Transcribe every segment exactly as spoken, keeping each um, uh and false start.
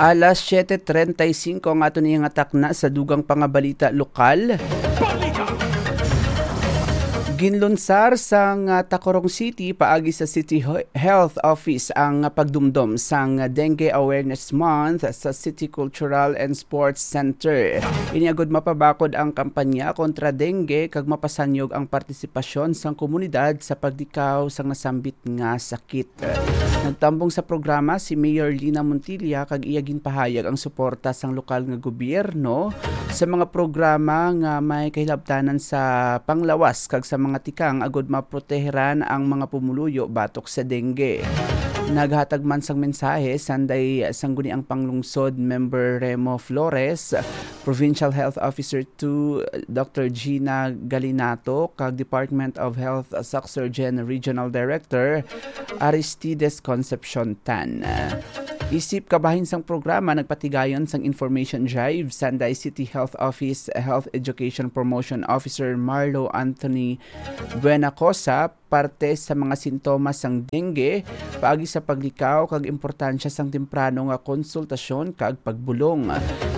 Alas siete treinta y cinco ang aton iyang atakna sa dugang pangabalita lokal. Ginlunsar sang, ah, Tacurong City paagi sa City Ho-, Health Office ang pagdumdom sang Dengue Awareness Month sa City Cultural and Sports Center. Ini agud mapabakod ang kampanya kontra dengue kag mapasanyog ang partisipasyon sang komunidad sa pagdikaw sang nasambit nga sakit. Nagtambong sa programa si Mayor Lina Montilla kag iya ginpahayag ang suporta sang lokal nga gobyerno sa mga programa nga may kahilabtanan sa panglawas kag sa mga tikang agud maproteheran ang mga pumuluyo batok sa dengue. Naghatag man sang mensahe sanday sangguniang panglungsod member Remo Flores, Provincial Health Officer two, Doctor Gina Galinato, kag Department of Health Sac-Surgen Regional Director Aristides Concepcion Tan. Isip kabahin sang programa, nagpatigayon sang information drive sanday City Health Office Health Education Promotion Officer Marlo Anthony Buenacosa parte sa mga sintomas sang dengue, paagi sa paglikaw kag importansya sang temprano nga konsultasyon kag pagbulong.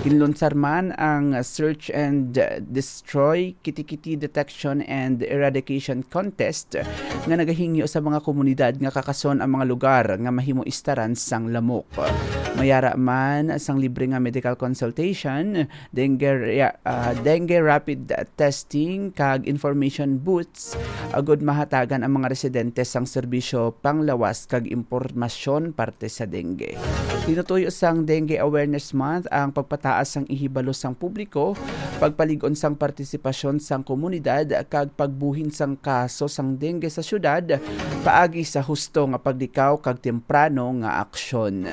Ginlunsar man ang Search and Destroy Kitikiti Detection and Eradication Contest nga nagahingyo sa mga komunidad nga kakason ang mga lugar nga mahimo istaran sang lamok. Mayara man sang libre nga medical consultation, dengue, rea-, ah, dengue rapid testing, kag information booths agud mahatagan ang mga residente sang serbisyo panglawas kag impormasyon parte sa dengue. Tinutuyo sang Dengue Awareness Month ang pagpataas sang ihibalo sang publiko, pagpalig-on sang partisipasyon sang komunidad, kag pagbuhin sang kaso sang dengue sa syudad paagi sa husto nga pagdikaw kag temprano nga aksyon.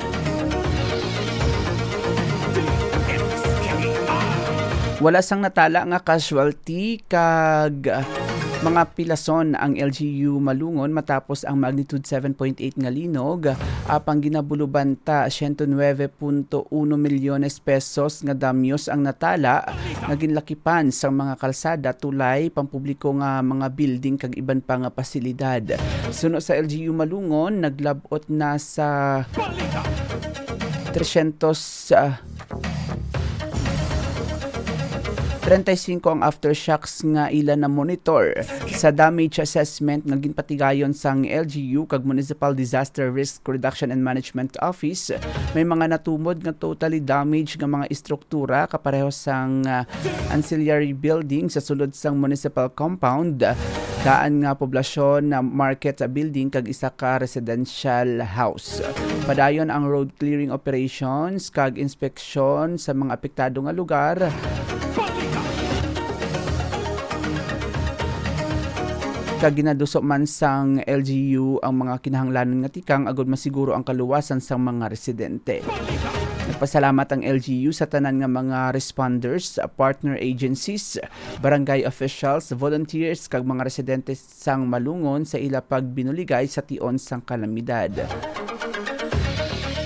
Wala sang natala nga casualty kag, ah, mga pilason ang L G U Malungon matapos ang magnitude seven point eight nga linog, apang ginabulubanta siyento nuebe punto uno milyones pesos nga damyos ang natala nga ginlakipan sang mga kalsada, tulay, pampubliko nga mga building kag iban pa nga pasilidad. Suno sa L G U Malungon, naglab-ot na sa trescientos, ah, treinta y cinco ang aftershocks nga ila na monitor sa damage assessment nga ginpatigayon sang L G U kag Municipal Disaster Risk Reduction and Management Office. May mga natumod nga totally damage nga mga istruktura kapareho sang, ah, ancillary building sa sulod sang municipal compound, daan nga poblasyon, ah, market building kag isa ka residential house. Padayon ang road clearing operations kag inspeksyon sa mga apektado nga lugar. Kag ginaduso man sang L G U ang mga kinahanglanon nga tikang agud masiguro ang kaluwasan sang mga residente. Nagpasalamat ang L G U sa tanan nga mga responders, partner agencies, barangay officials, volunteers, kag mga residente sang Malungon sa ila pagbinuligay sa tion sang kalamidad.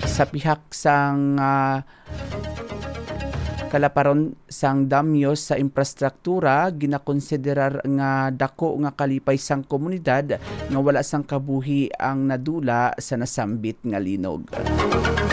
Sa pihak sang, ah, kalaparon sang damyos sa infrastruktura, ginakonsiderar nga dako nga kalipay sang komunidad nga wala sang kabuhi ang nadula sa nasambit nga linog.